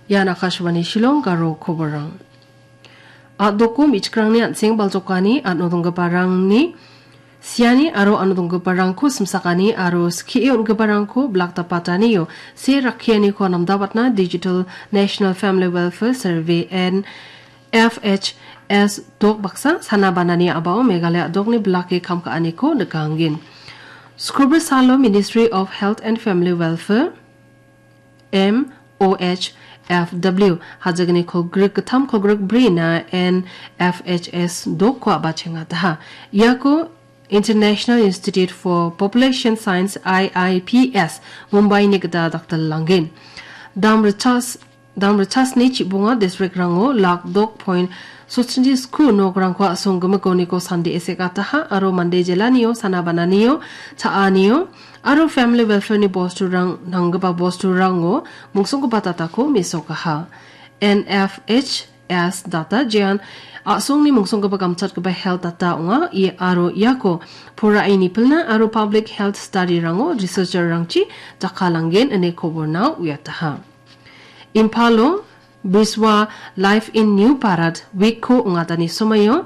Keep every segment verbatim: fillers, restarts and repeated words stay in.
Ian Akashvani Shillong Garo koborrang. A·doko me·chikrangni an·seng baljokani, ano donggiparangni siani aro ano donggiparangko simsakani aro skie on·giparangko blak dapatanio se rakkianiko namdabatna Digital National Family Welfare Survey, N F H S dok baksa sana banani a·bao Meghalaya a·dokni blake kam ka·aniko nikanggen. Skubri salo Ministry of Health and Family Welfare, M O H F W, hajagni kolgrik gittam kolgrik brina N F H S dokko a·bachengataha. Iako International Institute for Population Science, I I P S, Mumbai-ni gita dakdal langgen. Dam richas, dam richasni chibonga district-rango lak dok point sotchini sku nokrangko a·song gimikoniko sande esek ataha aro mande jelanio, sana bananio, cha·anio, aro family welfare-ni bosturang nanggipa bosturango mungsonggipa datako mesokaha. N F H S data jean a·songni mungsonggipa gamchatgipa health data ong·a, i-, aro iako poraini pilna aro public health study-rango researcher-rangchi jakkalanggen ine koborna uiataha. Imphalo Biswa Life in New Bharat Week-ko ong·atani somaio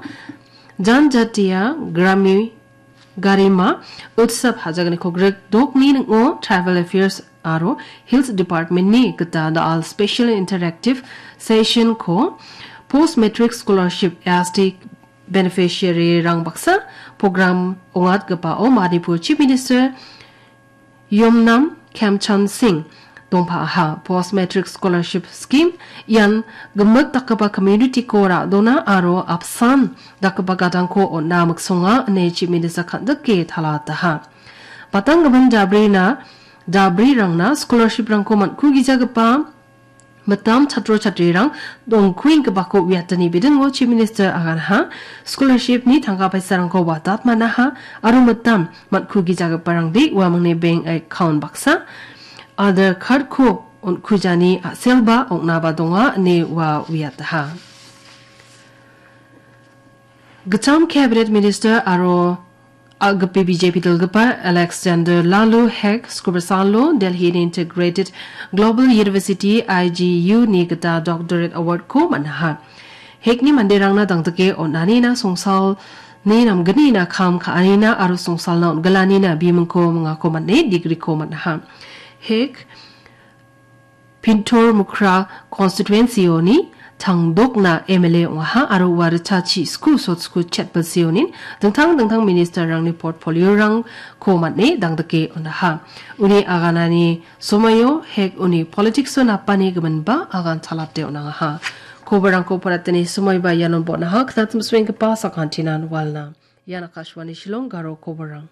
Janjatiya Grami Garima Utsav hajagni kolgrik dokni ning·o Tribal Affairs aro Hills Department-ni gita da·al Special Interactive Session-ko Post Matric Scholarship S T beneficiary-rang baksa program ong·atgipao Manipur Chief Minister Yumnam Khemchand Singh dongpa·aha. Post Matric Scholarship Scheme ian gimik dakgipa community-ko ra·dona aro apsan dakgipa gadangko on·na miksonga ine Chief Minister kan·dike talataha. Batanggimin dabrina, dabrirangna scholarship-rangko man·kugijagipa mitam chatro chatrirang dongkuenggipako uiatani bidingo Chief Minister aganaha, scholarship-ni tangka paisarangko watat man·aha, aro mitam man·kugijagiparangde uamangni bank account baksa, Aadhaar card-ko on·kujani a·selba ong·naba donga ine ua uiataha. Gittam Cabinet Minister aro a·gipi B J P dilgipa Alexander Lalu Hek Skubri salo Delhi-ni Integrated Global University, I G U-ni gita Doctorate Award-ko man·aha. Hek-ni manderangna dangdike on·anina songsalni namgnina kam ka·anina aro songsalna on·gilanina bimingko mingako man·e degree-ko man·aha. Hek Pintur Mukra constituency-oni tangdokna M L A ong·aha aro ua richachi sku sotsku chetbilseonin dingtang dingtang minister-rangni portfolio-rangko man·e dangdike on·aha. Uni aganani somoio Hek uni politics-o napani giminba agan chalate on·angaha. Koborrangko paratani somoiba ianon bon·aha, knatim swenggipa sakantinan walna. Ian Akashvani Shillong Garo koborrang.